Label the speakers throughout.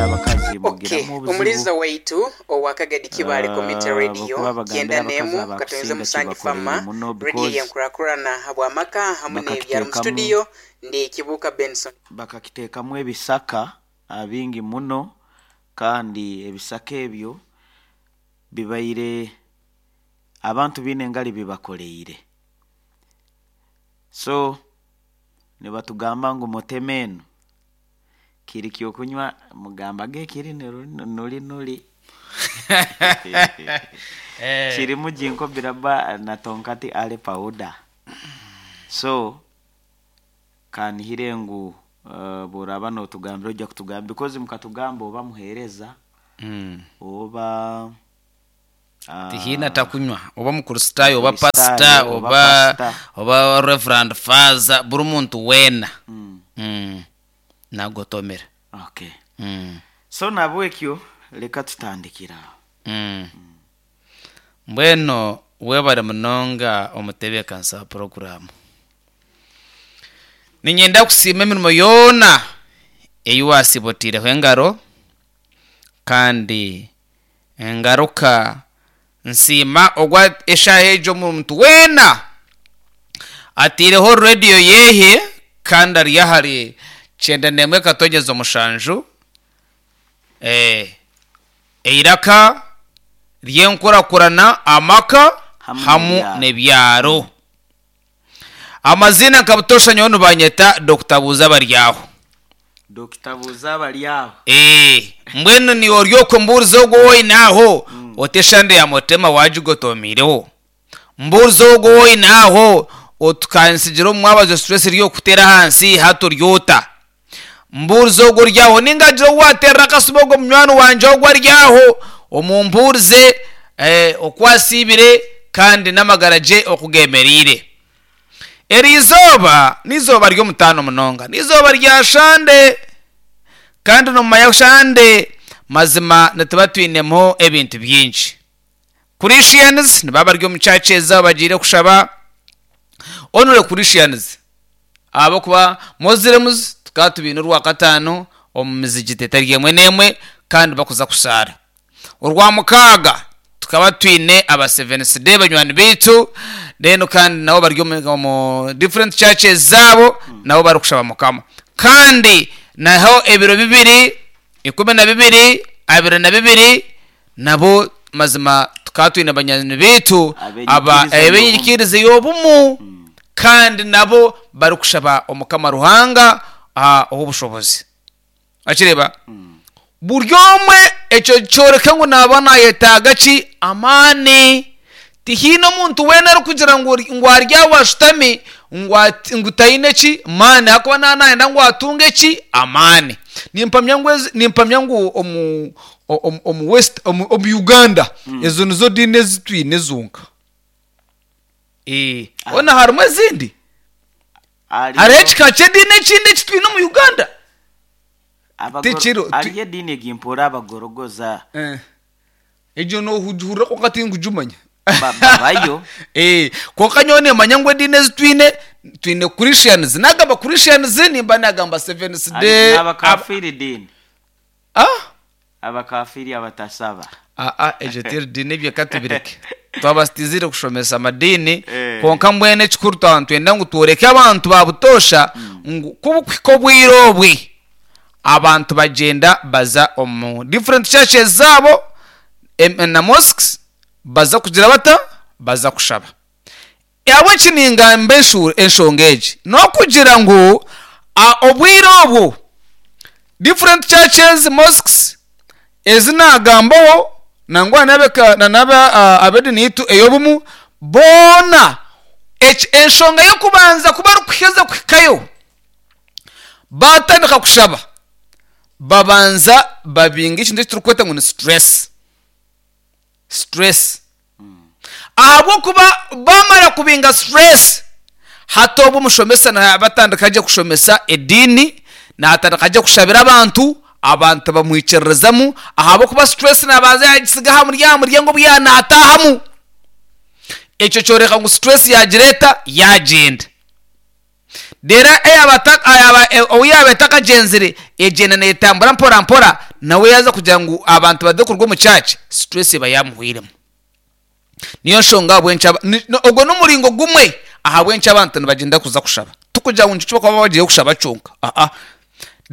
Speaker 1: abakazi
Speaker 2: Ok,
Speaker 1: mugiramu obuzibu
Speaker 2: omuliiza waitu owa Kagadi Kibaale Community Radio,
Speaker 1: ahabw'okuba bagambira
Speaker 2: Kyenda
Speaker 1: abakazi
Speaker 2: n'emu Katonyeza
Speaker 1: abakusinga
Speaker 2: Musangi
Speaker 1: kibakoreire
Speaker 2: Fama,
Speaker 1: muno
Speaker 2: Radio
Speaker 1: because
Speaker 2: y'enkurakurana habw'amaka hamu n'ebyaro mu
Speaker 1: bakakiteekamu
Speaker 2: studio ndi Kibuuka Benson.
Speaker 1: bakakiteekamu ebisaka bingi muno kandi ebisaka ebyo bibaire abantu baine engari bibakoreire. So nibatugamba ngu mutema enu kiri ky'okunywa mugamba ge kiri nuri nuri kirimu jinko biraba na tonkati ale powder. So kanihire ngu bworaba notugambira ojja kutugamba because mukatugamba oba muhereza oba
Speaker 3: Tihaine atakunywa oba Mukristaayo oba
Speaker 1: Mukristaayo,
Speaker 3: pasita
Speaker 1: oba
Speaker 3: oba
Speaker 1: pastor.
Speaker 3: oba Reverend Father buri muntu weena nagotomera.
Speaker 1: Okay. So nabwekyo leka tutandikire aho.
Speaker 3: Mbwenu webare munonga omutebeekanisa wa puroguraamu. Niinyenda kusiima emirimo yoona ei waasiiba otaireho engaro kandi ngaruka nsiima ogu eshaaha egi omuntu weena ataireho rediyo yehe kandi ari ahari kyenda n'emwe katonyeza omushanju eiraka ry'enkurakurana amaka
Speaker 1: Hamu
Speaker 3: hamu
Speaker 1: n'ebyaro.
Speaker 3: n'ebyaro. Amaziina nka butoosha nyowe nibanyeta Dokita Buuza Baryaho.
Speaker 1: Dokita Buuza Baryaho.
Speaker 3: Ee, mbwenu niiwe ori okwo mbuuriza ogwo ou oine aho, oti eshande ya Mutema waagigotomiireho. Mbuuriza ogwo ou oine aho, oti kansigire omu mwabazyo stress eri okuteera ahansi hati ori ota. Mbuuriza ogwo ori aho, nainga hagire ou waateerera akasimu ogwo munywani wangye ogwo ari aho, omumbuurize oku asiibire kandi n'amagara gye oku geemereire. Eri izooba n'eizooba ry'omutaano munonga. N'eizooba rya Shande. Kandi n'omu Shande mazima nituba twinemu ebintu bingi. Christians nibaba bari omu churches zaabo bagiire kushaba. Only Christians. Ahabw'okuba Muslims tukaba tubaine orwakataano omu mizigiti etari emwe n'emwe kandi bakuza kushaara. Orwamukaaga tukaba twine aba Seventh Day banywani baitu then kandi nabo bari omu different churches zaabo nabo barikushaba Mukama. Kandi naho ebiro bibiri, 12, 22 nabo mazima tukaba twine banywani baitu aba
Speaker 1: Ab'enyikiriza
Speaker 3: ab'enyikiriza
Speaker 1: y'obumu.
Speaker 3: y'obumu kandi nabo barikushaba Omukama Ruhanga ow'obushobozi. Wakireeba? Buri omwe ekyo kyoreka ngu naaba naayetaaga ki? Amaani. Tihaine omuntu weena arikugira ngu ngu ari aho ashutami ngu ati ngu taine ki? Maani ahakuba naaba naayenda ngu atunge ki? Amaani. Nimpamya ngu ezi nimpamya ngu omu omu omu west omu omu Uganda ezo nizo diini ezi twine zonka. Ee, hoona harimu ezindi? Hariho
Speaker 1: Hariyo
Speaker 3: ekika ky'ediini ekindi eki twine omu Uganda?
Speaker 1: abagoro
Speaker 3: Tikiriho. Ti-
Speaker 1: hariyo ediini egi mpoora abagorogoza
Speaker 3: Eh. Egyo noogihurira kwonka tinkugimanya.
Speaker 1: Ba- babayo
Speaker 3: Eh, kwonka nyowe nimanya ngu ediini ezi twine, twine Christians. Nagamba Christians nimba nagamba Seventh
Speaker 1: Hari
Speaker 3: Day. Aba,
Speaker 1: n'abakafiiri diini
Speaker 3: ah?
Speaker 1: abakafiiri abatasaba
Speaker 3: Aa, egyo teri diini ebyo ka tubireke. Twaba tutaizire kushomesa amadiini,
Speaker 1: Eh.
Speaker 3: kwonka mbwenu ekikuru twaba nitwenda ngu tworeke abantu ba butoosha ngu ku bukuhika obwire obwe, abantu bagyenda baza omu different churches zaabo em- na mosques baza kugira bata? Baza kushaba. Ahabw'enki ningamba enshu- enshonga egi? N'okugira ngu a- obwire obwo different churches, mosques ezi naagambaho nangwa n'ab'eka- na n'aba a- ab'ediini yaitu ey'obumu boona eki enshonga y'okubanza ku barikuheza kuhikayo baatandika kushaba babanza babinga ekintu eki turikweta ngu ni stress. Stress. Ahabw'okuba baamara kubinga stress, hati obwo omushomesa naaba atandika gye kushomesa ediini, naatandika gye kushabira abantu, abantu bamwikiririzamu ahabw'okuba stress naabanza yaagisiga aha muryango, muryango obu yaaba naataahamu. Ekyo kyoreka ngu stress yaagira eta? Yaagyenda. Reero eyaaba ou yaaba etakagyenzire, egyenda neetambura mpora mpora, Nawe yaaza kugira ngu abantu baze kuruga omu church, stress eba yaamuhweiremu. Niyo nshonga ahabw'enki aba, ni, ni, ogwo n'omuringo gumwe ahabw'enki abantu nibagyenda kuza kushaba. Tikugira ngu nikyo bakuba bagiire kushaba kyonka, aa.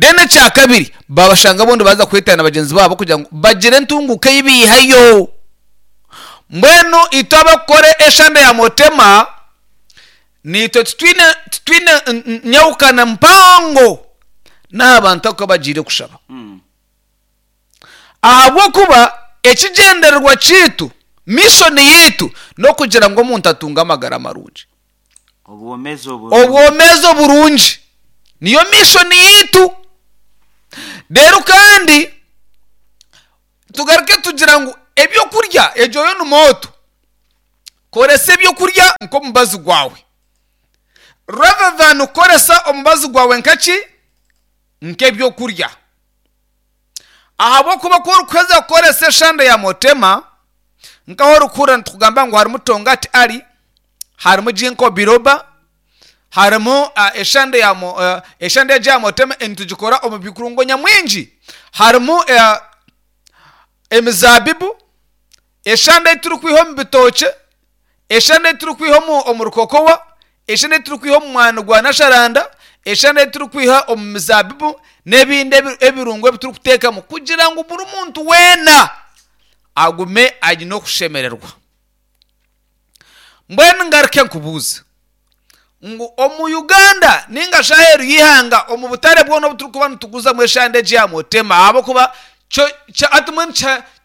Speaker 3: Then ekya kabiri, babashanga obundi baaza kwetana na bagyenzi baabo kugira ngu bagire entunguuka ei baihayo. Mbwenu itwe abakukora eshande ya Motema, naitwe titwine, titwine nyahukana mpango n'aha bantu aku abagiire kushaba. Ahabw'okuba ekigyendererwa kyaitu, mission yaitu, n'okugira ngu omuntu atunge amagara marungi.
Speaker 1: Obwomeezi oburungi.
Speaker 3: Obwomeezi oburungi niyo mission yaitu. Reero kandi tugaruke tugira ngu ebyokurya egyo yo ni mooto. Koresa ebyokurya nk'omubazi gwawe rather than kukoresa omubazi gwawe nka ki? Nk'ebyokurya. Ahabw'okuba ku orikuheza kukoresa eshande ya Motema, nk'ahu orikuhurira nitukugamba ngu harimu Tongati Ali, harimu Ginkgo Biloba, harimu eshande ya eshande egi ya Motema nitugikora omu bikurungo nyamwingi. Harimu emizaabibu, eshande ei turikwiha omu bitookye, eshande ei turikwiha omu rukokowa, eshande ei turikwiha omu mwani gwa nasharanda, eshande ei turikwiha omu mizaabibu n'ebindi ebirungo ebi turikuteekamu kugira ngu buri muntu weena agume aine okushemererwa. Mbwenu ngaruke nkubuuze ngu omu Uganda ninga shi aheeru y'eihanga omu butare bwona obu turikuba nituguzamu eshande egi ya Motema ahabw'okuba kyo hati mbwenu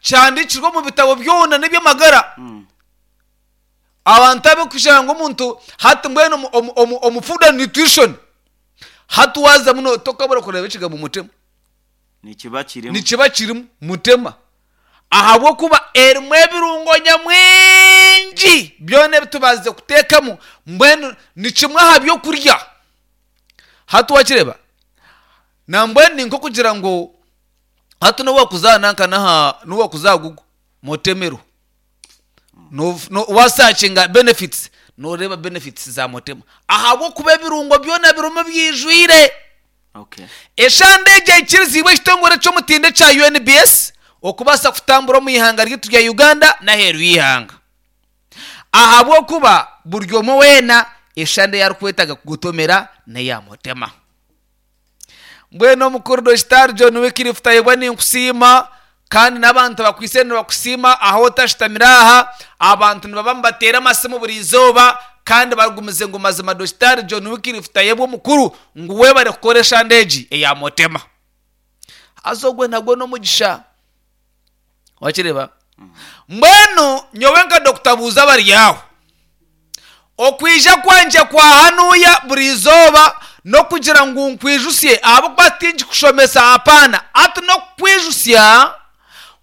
Speaker 3: kihandiikirwe omu bitabo byona n'eby'amagara. Abantu abarikushanga ngu omuntu hati mbwenu omu food and nutrition hati waazamu tokabura kureeba ekigambo mutema.
Speaker 1: Nikiba kirimu.
Speaker 3: Nikiba kirimu mutema ahabw'okuba erimu ebirungo nyamwingi byona ebi tubaasize kuteekamu mbwenu ni kimwe aha by'okurya. Hati wakireeba nambwenu ni nk'okugira ngu hati n'obu waakuza nanka n'aha n'obu waakuza aha Google mutemero Waasakinga benefits nooreeba benefits za Motema ahabw'okuba ebirungo byona birimu bwijwire.
Speaker 1: Okay.
Speaker 3: Eshande egi aikiriziibwe ekitongore ky'omutindo ekya UNBS okubaasa kutambura omu ihanga ryaitu rya Uganda n'aheeru y'eihanga. Ahabw'okuba buri omwe weena eshande ei arikwetaaga kugotomera n'eya Motema. Mbwenu omukuru Dokitaari John Wycliffe Tayebwa ninkusiima kandi n'abantu abakwaitse nibakusiima ahu otashutamire aha, abantu nibaba nibateera amasimu buri izooba kandi bagumize ngu mazima Dokitaari John Wycliffe Tayebwa omukuru ngu webare kukora eshande egi eya Motema. Haza ogwe nagwo n'omugisha. Wakireeba? Mbwenu nyowe nka Dokita Buuza Abaryaho, okwija kwangye kwa hanuya buri izooba n'okugira ngu nkwijusye ahabw'okuba tingikushomesa hapana, hati n'okukwijusya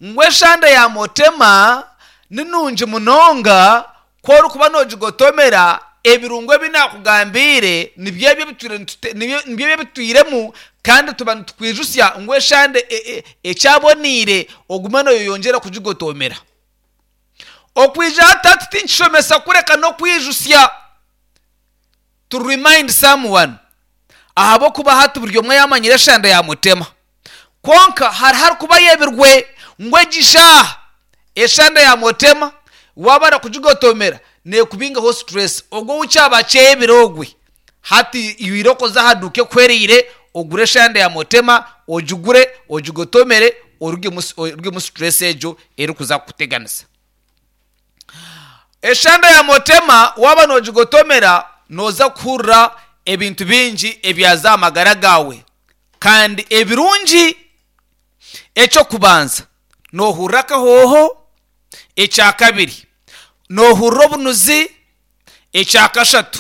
Speaker 3: ngu eshande ya Motema ni nungi munonga Ku orikuba noogigotomera, ebirungo ebi naakugambiire nibyo ebyo nibyo ebyo ebitwiremu, kandi tuba nitukwijutsya ngu eshande ekyaboneire ogume nooyeyongyera kugigotomera. Okwija hati hati tinkishomesa kureka n'okwijutsya, to remind someone, ahabw'okuba hati buri omwe yaamanyire eshande yaamutema. Kwonka hariho arikuba ayebirwe ngu egi shaaha eshande ya Motema waaba arakugigotomera nekubingaho stress. Ogwo ou kyaba akyebire ogwe hati iwe oze aha duuka ekuhwereire ogure eshande ya Motema ogigure ogigotomere orugemu stress egyo erikuza kukuteganisa. Eshande ya Motema waaba nogigotomera noza kuhurira ebintu bingi ebyaza aha magara gaawe. Kandi ebirungi, eky'okubanza, noohurira akahooho, ekyakabiri, noohurira obunuzi, ekyakashatu,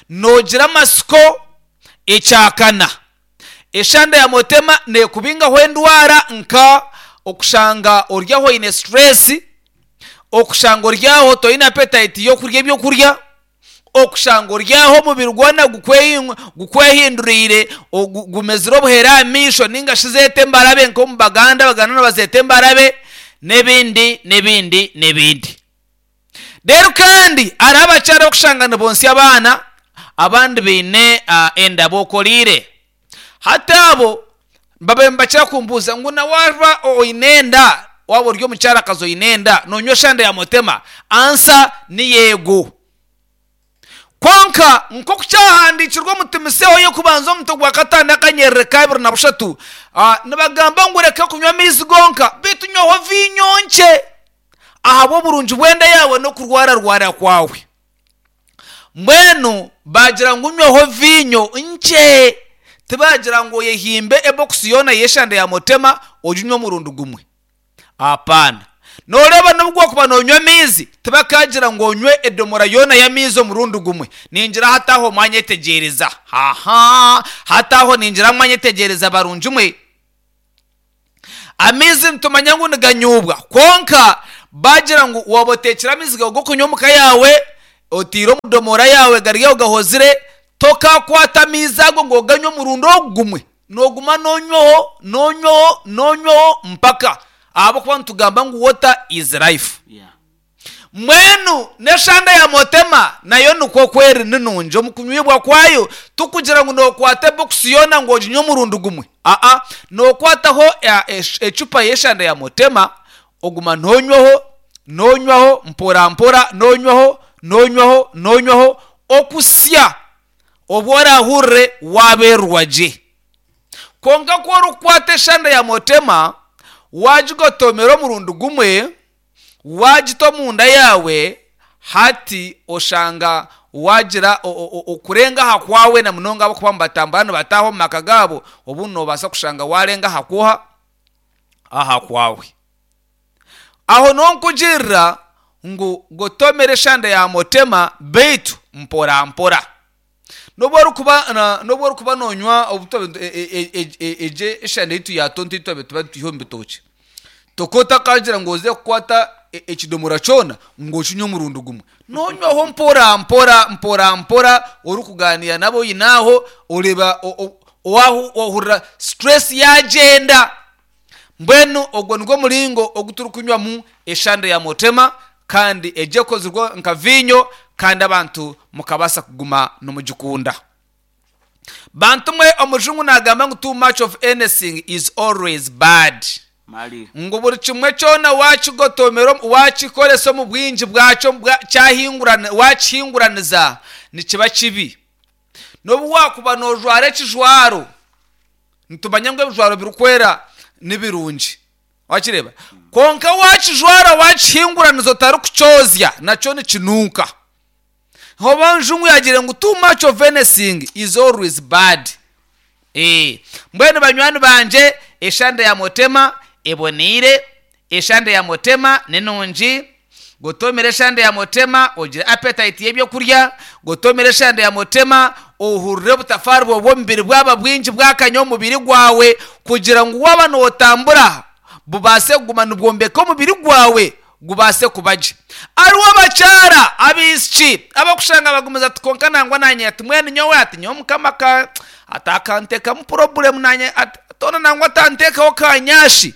Speaker 3: noogira amatsiko, ekyakana, eshande ya motema neekubingaho endwara nka okushanga ori aho oine situreesi, okushanga ori aho toine apetayiti y'okurya ebyokurya. Okushanga ori aho omubiri gwona gukwehinduriire, gumezire obuhere aha maisho nainga shi zeeta embarabe nk'omu Baganda, Abaganda nibazeeta embarabe n'ebindi n'ebindi n'ebindi. Reero kandi hariho abakyara abarikushanga nibonsya abaana abandi baine enda bokoreire. Hati abo. Babaire nibakira kumbuuza ngu na waaba oine enda, waaba ori omukyarakazi oine enda, noonywa eshande ya mutema? Ansa ni yeego. Kwonka nk'oku kyahandiikirwe omu Timotheo y'okubanza omutwe gwa kataano akanyerere ka abiri na bushatu, nibagamba ngu reka kunywa amaizi gonka, beitu nywaho viinyo nkye ahabw'oburungi bw'enda yaawe n'okurwararwara kwawe. Mbwenu baagira ngu nywaho viinyo nkye, tibaagira ngu oyehimbe ebokisi yoona y'eshande ya mutema oginywe omurundi gumwe. Apaana. Nooreeba n'obu wakuba noonywa amaizi, tibakaagira ngu onywe edomora yoona y'amaizi omurundi gumwe. Ningira hati aho mwanyetegyereza. Ha-ha! Hati aho ningira mwanyetegyereza barungi mwe. Amaizi nitumanya ngu niganyuubwa, kwonka baagira ngu waaba oteekire amaizi gaawe g'okunywa omu ka yaawe, otaire omu domora yaawe gari aho gahozire, tokaakwata amaizi ago ngu oganywe omurundi ogu gumwe. Nooguma noonywaho, noonywaho, noonywaho mpaka ahabw'okuba nitugamba ngu water is life.
Speaker 1: Yeah.
Speaker 3: Mbwenu n'eshande ya motema nayo nikwo oku eri ni nungi omu kunywibwa kwayo, tikugira ngu nookwata ebokisi yoona ngu oginywe omurundi gumwe. Aa, nookwataho ecupa y'eshande ya motema oguma noonywaho, noonywaho mpora mpora, noonywaho, noonywaho, noonywaho okusya obu oraahurire waabeerwa gye. Kwonka ku orikukwata eshande ya motema waagigotomera omurundi gumwe, Waagita omunda yaawe, hati oshanga waagira okurenga aha kwawe na munonga ahabw'okuba nibatambura nibataaha omu maka gaabo, obundi noobaasa kushanga waarenga aha kwoha? Aha kwawe. Aho niho nkugirira ngu gotomera eshande ya motema beitu mpora mpora. N'obu orikuba n'obu orikuba noonywa egyo eshande yaitu ya tonto ei twabaire tuba nitwiha omu bitookye, toka otakagira ngu oze kukwata ekidomora kyona ngu okinywe omurundi gumwe. Noonywaho mpora mpora mpora mpora orikugaaniira n'abu oine aho, oreeba waahurira stress yaagyenda. Mbwenu ogwo nigwo muringo ogu turikunywamu eshande ya Mutema, kandi egyo ekozirwe nka viinyo, kandi abantu mukabaasa kuguma nimugikunda. Bantu mwe, omujungu naagamba ngu too much of anything is always bad.
Speaker 1: Mali.
Speaker 3: Ngu buri kimwe kyona waakigotomera, waakikoresa omu bwingi bwakyo, waakihinguraniza, nikiba kibi. N'obu waakuba noojwara ekijwaro, Nitumanya ngu ebijwaro birikwera ni birungi. Wakireeba? Kwonka waakijwara waakihinguraniza otarikukyozya, nakyo nikinuuka. Oba njungu yaagiire ngu too much of anything is always bad. Eeh. Mbwenu banywani bangye, eshande ya Mutema eboneire, Eshande ya Mutema ni nungi. Gotomera eshande ya Mutema ogire appetite y'ebyokurya. Gotomera eshande ya Mutema ohurire obutafaari bwawe bw'omubiri bwaba bwingi bwakanya omu mubiri gwawe kugira ngu waaba nootambura bubaase kuguma nibwombeka omubiri gwawe gubaase kuba gye. Hariho abakyara abaishiki abarikushanga bagumize ati kwonka nangwa naanye ati mbwenu nyowe ati nyowe Mukama ati akanteekamu purobulemu naanye ati hoona nangwa atanteekaho kanyashi.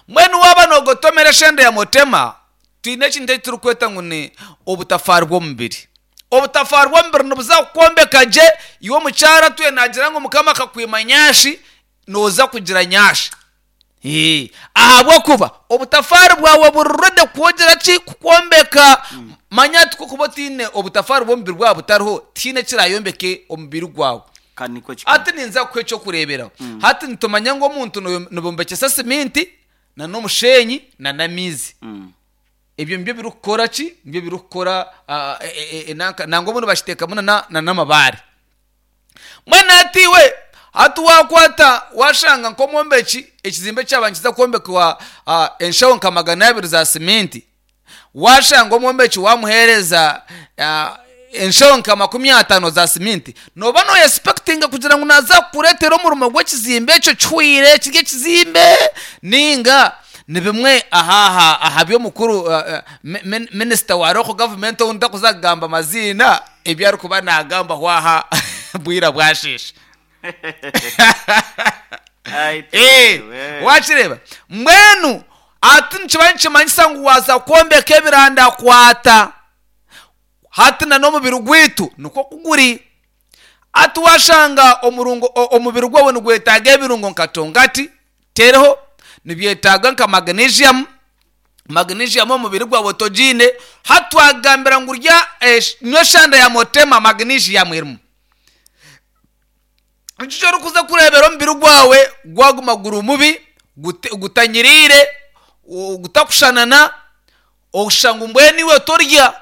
Speaker 3: Mbwenu waaba noogotomera eshende ya mutema, twine ekintu eki turikweta ngu ni obutafaari bw'omubiri. Obutafaari bw'omubiri nibuza kukwombeka gye, iwe omukyara atwire naagira ngu Mukama akakwima nyashi, nooza kugira nyashi. Ahabw'okuba obutafaari bwawe buri ready kwogira ki? Kukwombeka. Manya hati ku orikuba otaine obutafaari bw'omubiri bwawe butariho, tihaine ekiraayombeke omubiri gwawe.
Speaker 1: Ka nikwo kikuru.
Speaker 3: Hati ninza kukuha eky'okureeberaho. Hati nitumanya ngu omuntu nibombekyesa siminti na n'omushenyi na n'amaizi. Ebyo nibyo birikukora ki? Nibyo birikukora enanka nangwa obundi bakiteekamu na n'amabaare. Mbwenu hati iwe hati waakwata waashanga nk'omwombeki ekizimbe kyaba nikiza kwombekwa enshaho nka 200 za siminti, Waashanga omwombeki waamuheereza enshaho nka 50 za siminti, nooba nooyesipekitinga kugira ngu naaza kukureetera omurimo gw'ekizimbe ekyo kihweire kiri ekizimbe nainga ni bimwe aha aha by'omukuru minisita wa local government ou ntarikuza kugamba amaziina ebi arikuba naagambaho aha bwira bwasheesha.
Speaker 1: Ai,
Speaker 3: Eh,
Speaker 1: we.
Speaker 3: wakireeba mbwenu hati nikiba nikimanyisa ngu waaza kwombeka ebirandakwata hati na n'omubiri gwaitu nikwo ku guri. Hati waashanga omurungo, omubiri gwawe nigwetaaga ebirungo nka tongati, teriho, nibyetaaga nka magnesium, magnesium omubiri gwawe togiine, hati twakugambira ngu rya, nywa eshanda ya motema magnesium erimu. Nikyo eki orikuza kureebera omubiri gwawe gwaguma guri mubi, gutanyiriire, gutakushanana, oshusha ngu mbwenu iwe torya.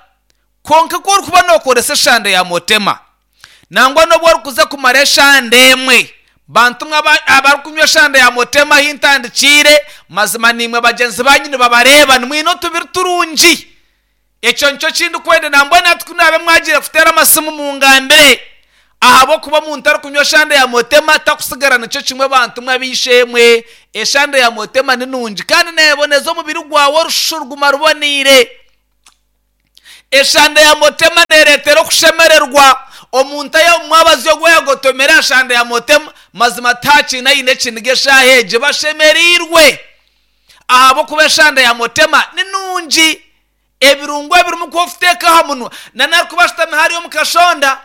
Speaker 3: Kwonka ku orikuba nookoresa eshanda ya motema, nangwa n'obu orikuza kumara eshanda emwe, bantu mwe abarikunywa eshanda ya motema ahu ntandikiire, mazima naimwe bagyenzi baanyu nibabareeba, nimwine otubiri turungi. Ekyo nikyo ki ndikwenda. Nambwenu hati ku naabe mwagiire kuteera amasimu mungambire, ahabw'okuba omuntu arikunywa eshanda ya motema takusigara nikyo kimwe bantu mwe ab'eishe-emwe. Eshanda ya motema ni nungi kandi neeboneza omubiri gwawe orushushu ruguma ruboneire. Eshanda ya motema neereetera okushemererwa. Omuntu ayi omu mwabazyo ogu yagotomire aha shanda ya motema, mazima tihakiine aine ekiniga eshaaha egi. Bashemereirwe ahabw'okuba eshanda ya motema ni nungi. Ebirungo ebirimu ku orikuteeka aha munwa na arikuba ashutami hariya omu kashonda,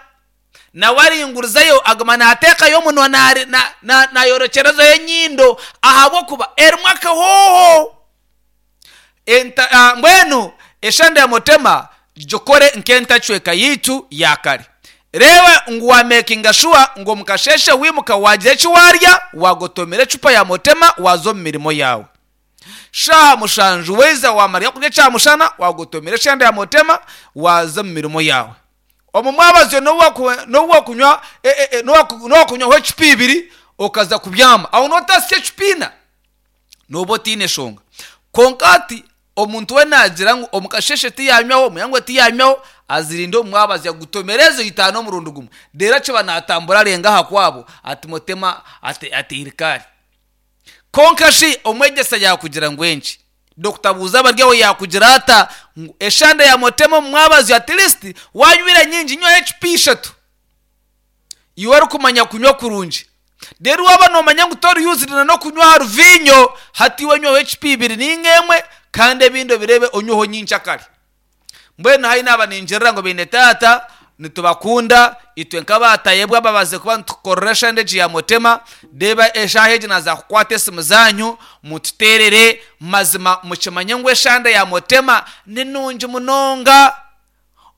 Speaker 3: nawe aringurizayo aguma naateekayo omunwa naayorekyerezayo enyindo ahabw'okuba erimu akahooho. Mbwenu eshanda ya motema gikore nk'entacweka yaitu ya kare. Reeba ngu waamekinga shuwa ngu omu kasheeshe waimuka waagira eki waarya, waagotomera ecupa ya motema waaza omu mirimo yaawe. Shaaha mushanju waiza waamara eky'okurya kya mushana, waagotomera eshanda ya motema waaza omu mirimo yaawe. Omu mwabazyo n'obu waakunywa n'obu waakunywaho ecupa ibiri okaza kubyama, aho nootasya ecupa ina, nooba otaine shonga. Kwonka hati omuntu we naagira ngu omu kasheeshe tiyaanywaho, omu ihangwe tiyaanywaho, azirinde omu mwabazyo agutomere ezo itaano omurundi gumwe. Reero akiba naatambura arenga aha kwabo ati motema ateire kaari. Kwonka shi omwegyesa yaakugira ngu enki? Dokita buuza abari aho yaakugira ata ngu eshanda ya motema omu mwabazyo at least waanywire nyingi nywaho ecupa ishatu. Iwe orikumanya kunywa kurungi. Reero waaba noomanya ngu tori used na n'okunywa aha ruviinyo, hati iwe nywaho ecupa ibiri nainga emwe kandi ebindi obireebe onyweho nyenkyakare. Mbwenu haihi naaba ningirira ngu beine taata nitubakunda itwe nk'abaatayebwa ababazize kuba nitukukorera eshande egi ya Motema, reeba eshaaha egi naaza kukwata esimu zaanyu mututeerere, mazima mukimanye ngu eshande ya Motema ni nungi munonga.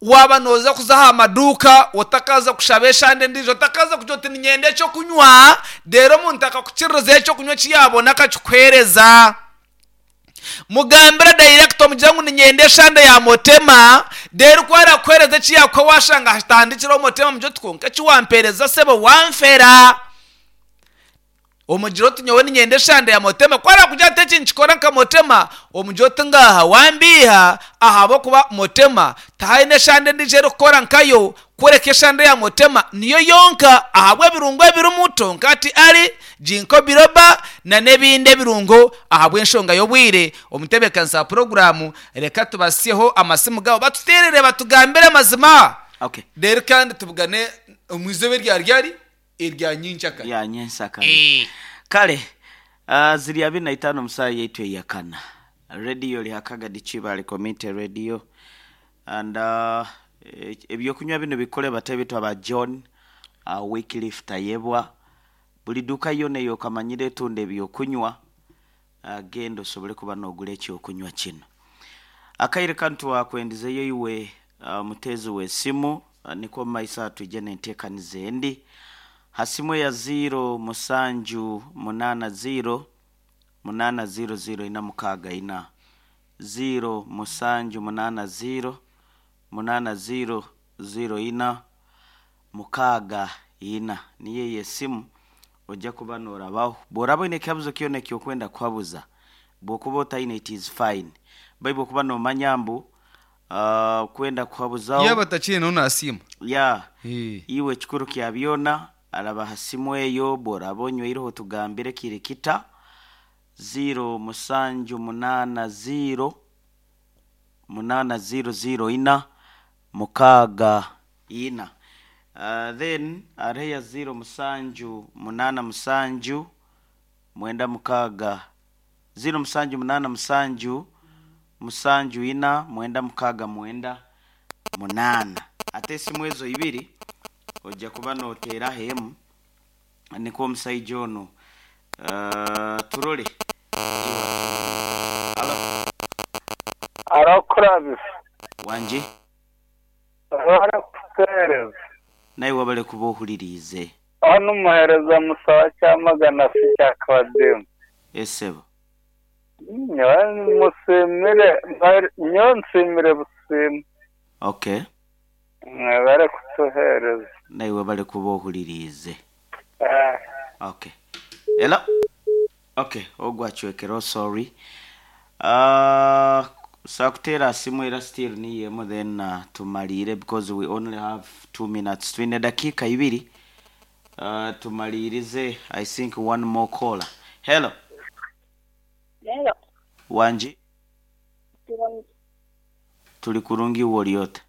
Speaker 3: Waaba nooza kuza aha maduuka otakaaza kushaba eshande endiijo, otakaaza kugira oti niinyenda eky'okunywa, reero omuntu akakukiririzaho eky'okunywa eki yaabona akakikuheereza. Mugambire dayirekita omugire ngu niinyenda eshande ya Motema, reero ku araakuheereza eki yaakuha waashanga hatandikireho Motema omugire oti kwonka eki wampeereza sebo wanfera. Omugire oti nyowe niinyenda eshande ya Motema, ku araakugira ati eki ninkikora nka Motema, omugire oti ngaaha wambiiha ahabw'okuba Motema tihaine eshande endiijo erikukora nkayo kureka eshande ya Motema niyo yonka ahabw'ebirungo ebirimu tonkati ali, Ginkgo biloba na n'ebindi ebirungo. Ahabw'enshonga y'obwire, omutebeekanisa wa puroguraamu reka tubasyeho amasimu gaabo batuteerere batugambire amazima.
Speaker 1: Okay.
Speaker 3: Reero kandi tubugane omu izooba erya ryari? Erya nyenkyakare.
Speaker 1: Erya nyensyakare. Kare, ah, ziri abiri na itaano omu saaha yaitu eyakana. Radio eri Hakagadi Kibaale Community Radio and ah, eby'okunywa binu bikore bata ebitwa ba John ah, Wycliffe Tayebwa. Buri duuka yoona ei okamanyire etunda eby'okunywa, genda osobole kuba noogura eky'okunywa kinu. Akaire kanu twakwendizeyo iwe omuteezi w'esimu, nikwo omu maiso aha twije n'enteekaniza endi. Ha simu eya ziiro musanju munaana ziiro, munaana ziiro ziiro ina mukaaga ina, ziiro musanju munaana ziiro, munaana ziiro ziiro ina, mukaaga ina. Niyo eyo esimu ojja kuba norabaho. Bworaba oine ekikabuzo kyona ekyokwenda kuhabuza, bwokuba otaine it is fine. Baitu bwokuba nomanya mbu okwenda kuhabuzaho.
Speaker 3: Yaaba atakiineho naasiima.
Speaker 1: Yeah.
Speaker 3: Eh.
Speaker 1: Iwe ekikuru kya byona araba ha simu eyo, bworaba onyweireho otugambire kiri kita, ziiro musanju munaana ziiro, munaana ziiro ziiro ina, mukaaga ina. Then hariho eya ziiro musanju munaana musanju mwenda mukaaga, ziiro musanju munaana musanju, musanju ina mwenda mukaaga mwenda munaana. Hati esimu ezo ibiri. Ojja kuba noteeraho emu nikwo omusaija onu turole iwe atuhumurize. Halo.
Speaker 4: Haro Kurabisa.
Speaker 1: Wangi.
Speaker 4: Webale kutuhereza.
Speaker 1: Naiwe webale kuba ohuririize.
Speaker 4: Onu muhereza Musa wa Kyamagana si kya Kabademu.
Speaker 1: Esebo.
Speaker 4: Nyowe musiimire, nyowe nsiimire busiima.
Speaker 1: Okay.
Speaker 4: Mwebale kutuheereza.
Speaker 1: Naiwe webale kuba ohuririize. Okay. Hello? Okay, ogwo acwekereho sorry. Uh, sakuteera aha simu era still niyo emwe then uh, tumariire because we only have 2 minutes. Twine dakiika ibiri uh, tumariirize I think one more caller. Hello?
Speaker 5: Hello.
Speaker 1: Wangi?
Speaker 5: Turungi.
Speaker 1: Turi kurungi iwe ori ota?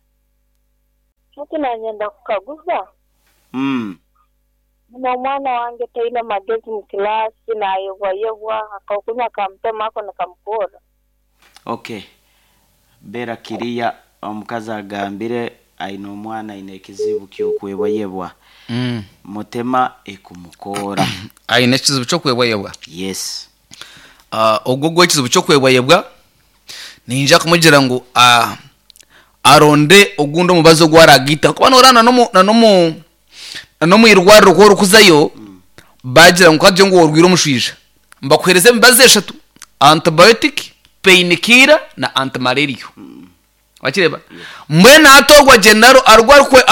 Speaker 5: Hati nanyenda kukaguza. Nyine omwana wange taine magezi mu kilasi, nayebwayebwa, akokunywa kamutema ako nikamukora.
Speaker 1: Okay. Beera kiriya omukazi agambire aine omwana aine ekizibu ky'okwebwayebwa. Mutema ekumukoora.
Speaker 3: Aine ekizibu ky'okwebwayebwa?
Speaker 1: Yes.
Speaker 3: Ogwo ogwo ekizibu ky'okwebwayebwa, niinyija kumugira ngu aronde ogundi omubazi ogu aragaita ahakuba noreeba na n'omu na n'omu irwariro ku orikuzayo bagira ngu kagire ngu orwaire omushwija nibakuheereza emibazi eshatu, antibiotic, pain killer na anti-malaria. Wakireeba? Mbwenu hati ogwo agyenda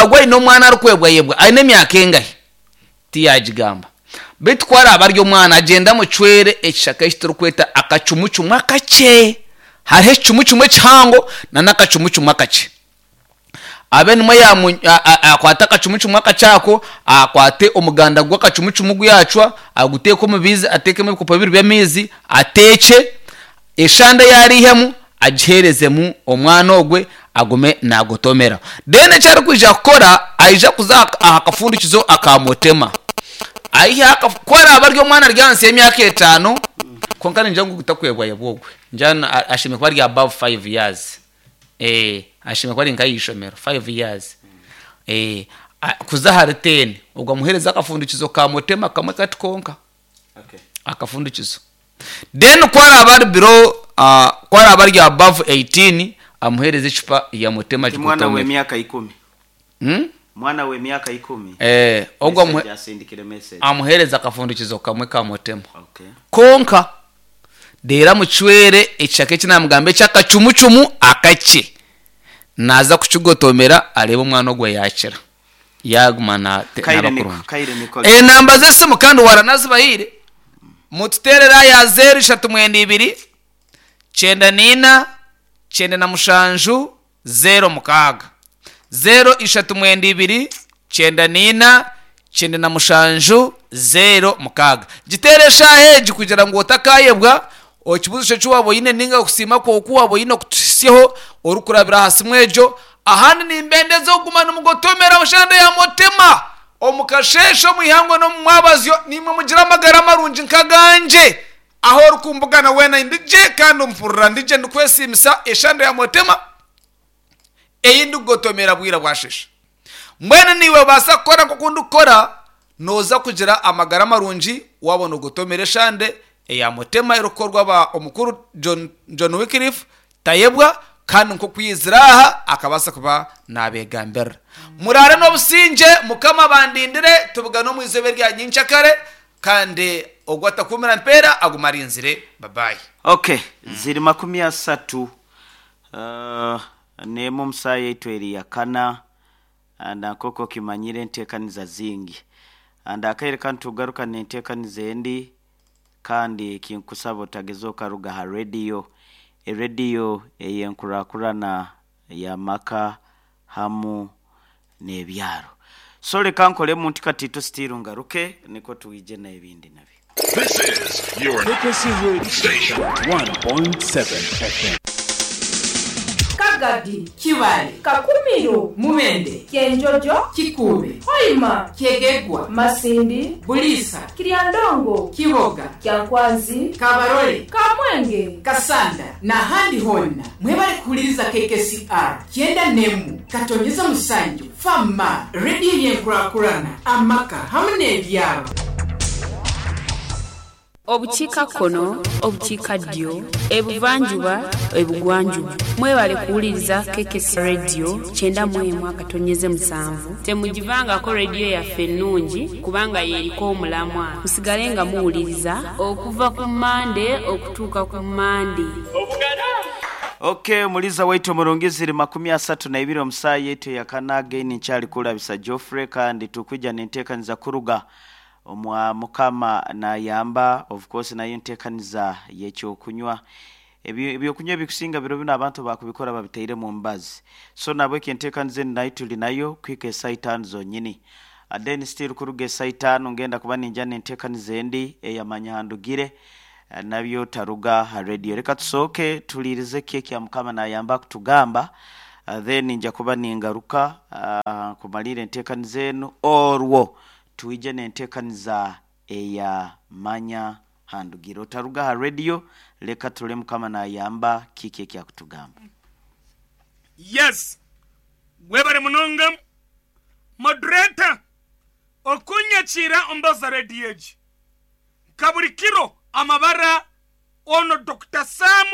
Speaker 3: ogwo aine omwana arikwebwayebwa aine emyaka engahi? Tiyagigamba. Beitu ku araabe ari omwana agyende amucwere ekishaka eki turikweta akacumucumu akakye. Hariho ekicumucumu ekihango n'akacumucumu akakye. Abe nimwo akwate akacumucumu akakye ako, akwate omuganda gw'akacumucumu ogu yaacwa, aguteeke omu biizi, ateekemu ebikopo bibiri by'amaizi, ateekye, eshande ei araihemu agiheerezemu omwana ogwe agume naagotomera. Then eki arikwija kukora, aija kuza aha kafundikizo akaamutema. Aihe aha ku araabe ari omwana ari ahansi y'emyaka etaano, kwonka ningira ngu takwebwayebwa ogwe, ningira ashemereire kuba ari above five years. Eeh ashemereire kuba ari nk'aha ishomero, five years. Eeh kuza ahari ten, ogwo amuheereze akafundikizo ka mutema kamwe kati konka. Akafundikizo. Then ku araabe ari below, ku araabe ari above 18, amuheereze ecupa ya mutema
Speaker 1: Ti mwana
Speaker 3: agikotomere.
Speaker 1: w'emyaka ikumi. Mwana w'emyaka ikumi.
Speaker 3: Eh, ogwo
Speaker 1: Message asindikire message.
Speaker 3: amuheereze akafundikizo kamwe ka mutema.
Speaker 1: Okay.
Speaker 3: Kwonka reero amucwere ekishaka eki naamugamba eky'akacumucumu akakye. Naaza kukigotomera areebe omwana ogwo yaakira. Yaaguma
Speaker 1: Kaire
Speaker 3: naaba
Speaker 1: niko,
Speaker 3: kurungi.
Speaker 1: kaire niko.
Speaker 3: Enamba z'esimu kandi waranazibahaire, mututeerere aha ya zeero ishatu mwenda ibiri, kyenda naina, 97, 06. Zeero ishatu mwenda ibiri, 94, 97, 06. Giteere eshaaha egi kugira ngu otakaayebwa ekibuuzo eki waaba oine nainga okusiima kwawe oku waaba oine okutuhitsyaho orikurabira aha simu egyo. Ahandi nimbendeza okuguma nimugotomera oshande ya Mutema omu kasheeshe, omu ihangwe n'omu mwabazyo. Naimwe mugire amagara marungi nk'agangye. Ahu orikumbugana weena ndi gye kandi ompurira ndi gye ndikwesiimisa eshande ya Mutema ei ndikugotomera bwira bwasheesha. Mbwenu naiwe obaasa kukora nk'oku ndikukora, nooza kugira amagara marungi waaba noogotomera eshande eya Mutema erikukorwa ba Omukuru John, John Wycliffe Tayebwa kandi nk'oku yaizire aha akabaasa kuba naabeegambirira. Muraare n'obusingye, Mukama abandindire, tubugane omu izooba erya nyenkyakare, kandi ogwo atakuumira mpeera agume arinzire. Babayi.
Speaker 1: Ok, ziri 31 n'emwe omu saaha yaitu eri yakana, and nk'oku okimanyire enteekaniza zingi. And akaire kanu tugaruka n'enteekaniza endi, kandi kinkusaba otageza okaruga ha rediyo, erediyo ey'enkurakurana y'amaka hamu n'ebyaro. So leka nkolemu nti katiito still ngaruke nikwo twije n'ebindi nabyo.
Speaker 6: This is your
Speaker 7: Frequency Radio
Speaker 6: station.
Speaker 7: 1.7 FM. Kagadi,
Speaker 2: Kibaale,
Speaker 7: Kakumiro,
Speaker 2: Mubende,
Speaker 7: Kyenjojo,
Speaker 2: Kikuube,
Speaker 7: Hoima,
Speaker 2: Kyegegwa,
Speaker 7: Masindi,
Speaker 2: Buliisa,
Speaker 7: Kiryandongo,
Speaker 2: Kiboga,
Speaker 7: Kyankwanzi,
Speaker 2: Kabarole,
Speaker 7: Kamwenge,
Speaker 2: Kasanda n'ahandi hoona. Mwebale kuhuliriza KKCR kyenda n'emu katonyeza musanju fama rediyo y'enkurakurana amaka hamu n'ebyaro.
Speaker 8: Obukiikakkono, obukiikaddyo, ebuvanjuba, ebugwanjuba. Mwebale kuwuliriza KKC Radio 91 akatonyeze 7. Temugivangako rediyo yaffe ennungi kubanga y'eriko omulamwa. Musigale nga muwuliriza okuva ku Mmande okutuuka ku Mmande.
Speaker 1: Ok omuliza waitu omurungi ziri 32 omu saaha yaitu eyakana again nkyali kulabisa Geoffrey kandi tukwija nentekaniza kuruga omwa mukama nayamba of course nayo entekaniza yekyokunywa ebyokunywa ebikusinga biro binu abantu bakubikora babitairemu omubazi so nabweki entekaniza enu nayo tuli nayo kuhika esaaha itaano zonyini then still kuruga esaaha itaano ngenda kuba ninja nentekaniza endi eyamanya handugire nabyo taruga ha radio. Reka tusooke tuliirize ki ekya mukama nayamba kutugamba then nja kuba ningaruka kumalira entekaniza enu orwo twije nentekaniza eya manya handugire. Otaruga ha radio leka tule mukama nayamba kiki ekyakutugamba.
Speaker 9: Yes, webare munonga moderator okunyakiira ombaza radio egi nka buri kiro amabara ono Dr. Sam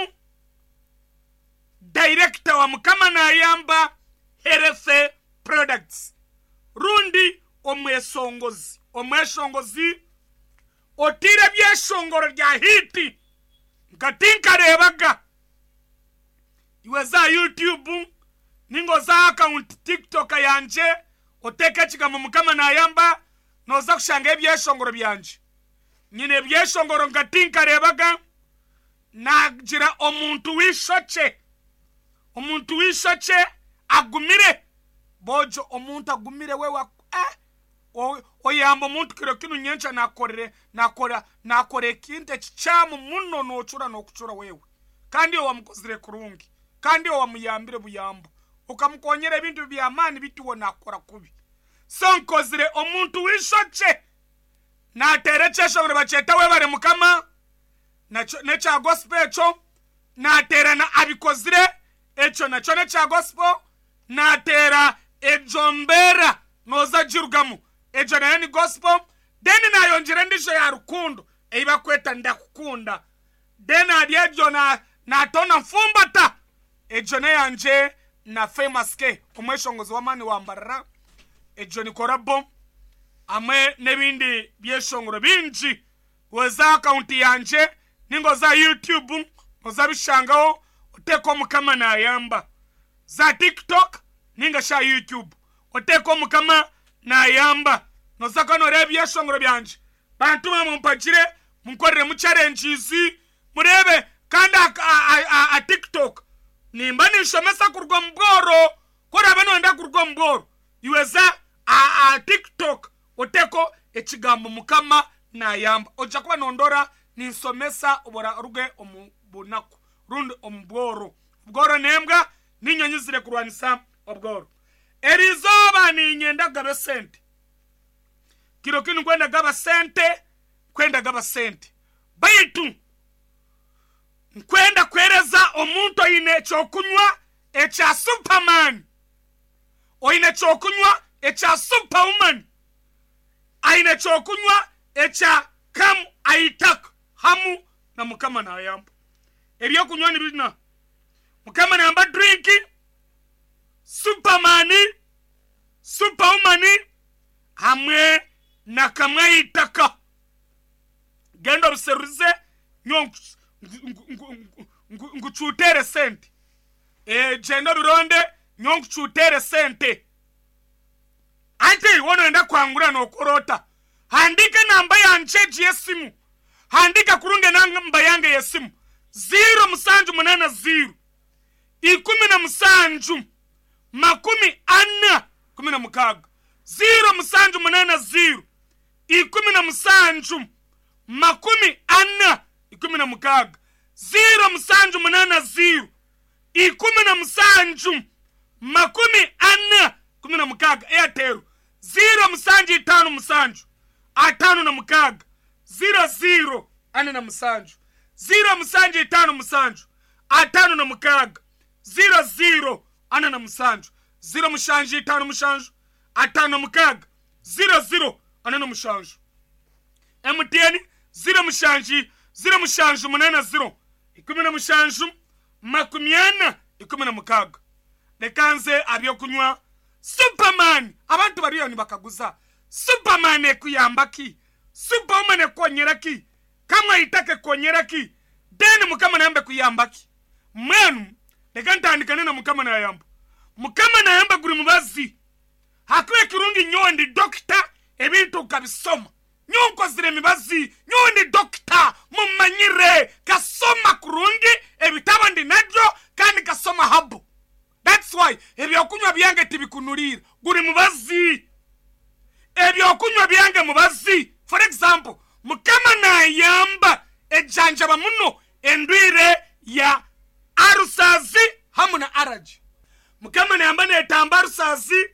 Speaker 9: director wa Mukama Nayamba Health Products rundi omwesongozi omweshongozi otire byeshongoro rya hiti nka tinkarebaga iwe za YouTube ningo za account TikTok yanje oteke ekigambo Mukama Nayamba noza kushanga ebyeshongoro byanje nyine ebyeshongoro nka tinkarebaga nagira omuntu w'ishoke omuntu w'ishoke agumire bojo omuntu agumire wewe oyamba omuntu kiro kinu nyencha nakorere nakora nakora ekintu ekikyamu muno nocura nokucura wewe kandi owamukozire kurungi kandi owamuyambire buyambo ukamukonyera ebintu by'amaani bituwo nakora kubi so nkozire omuntu w'ishoke nateera ekyeshongoro bakyeta webare mukama nekya gospel ekyo nateera na abikozire ekyo nakyo nekya gospel nateera ejo mbeera noza girugamu ejo nayo ni gospel then nayongyera endijo ya rukundo ei bakweta ndakukunda then hari ejo natona nfumbata ejo neyangye na Famous K omweshongozi w'amaani wambarara ejo ni korabo amwe n'ebindi byeshongoro bingi weza akaunti yangye ningo za YouTube oza bishangaho oteeka Mukama Nayamba za TikTok ninga sha YouTube oteeka Mukama Nayamba noza kuba noreeba ebyeshongoro byangye bantu bamumpagire munkoreremu challenges murebe kandi a TikTok nimba ninshomesa kuruga omu bworo korabe noyenda kuruga omu bworo iweza a TikTok oteko ekigambo Mukama Nayamba ojja kuba nondora ninsomesa oruge omu bunaku rundi omu bworo obworo nembwa ninyonyi zire kurwanisa obworo eriizooba ninyenda kugaba esente kiro kinu nkwenda gaba sente kwenda gaba sente baitu nkwenda kwereza omuntu oine ekyokunywa ekya Superman oine ekyokunywa ekya Superwoman aine ekyokunywa ekya Kamu Aitaka hamu na Mukama Nayamba ebyokunywa nibina Mukama Nayamba drink Superman Superwoman hamwe na Kamwe Aitaka genda obiseruze nyo nkucutere sente genda obironde nyo nkucutere sente ante wonoenda kwangura nokorota handika namba yanje yesimu handika kurunge namba yange yesimu 0780 17 40 16 0780 17 40 16 0780 17 40 16. Airtel 0 7 5 7 56 00 47. 0 7 5 7 56 00 47. 0 7 5 7 56 00 47. MTN 0 7 0 7 8 0 17 40 16. Leka nze abyokunywa Superman. Abantu bariyo nibakaguza Superman ekuyamba ki? Superwoman ekukonyera ki? Kamwaitaka ekukonyera ki? Then Mukama nayamba ekuyamba ki? Mbwenu leka ntandikane na Mukama nayamba. Mukama nayamba guri mubazi. Hakuba ekirungi nyowe ndi dokita ebintu nkabisoma. Nyowe nkozire emibazi, nyowe ndi dokita mumanyire kasoma kurungi ebitabo ndi nabyo kandi kasoma habu. That's why ebyokunywa byange tibikunuriira guri mubazi. Ebyokunywa byange mubazi. For example, Mukama nayamba ejanjaba muno endwire ya arusazi hamu na araji. Mukama nayamba netamba arusazi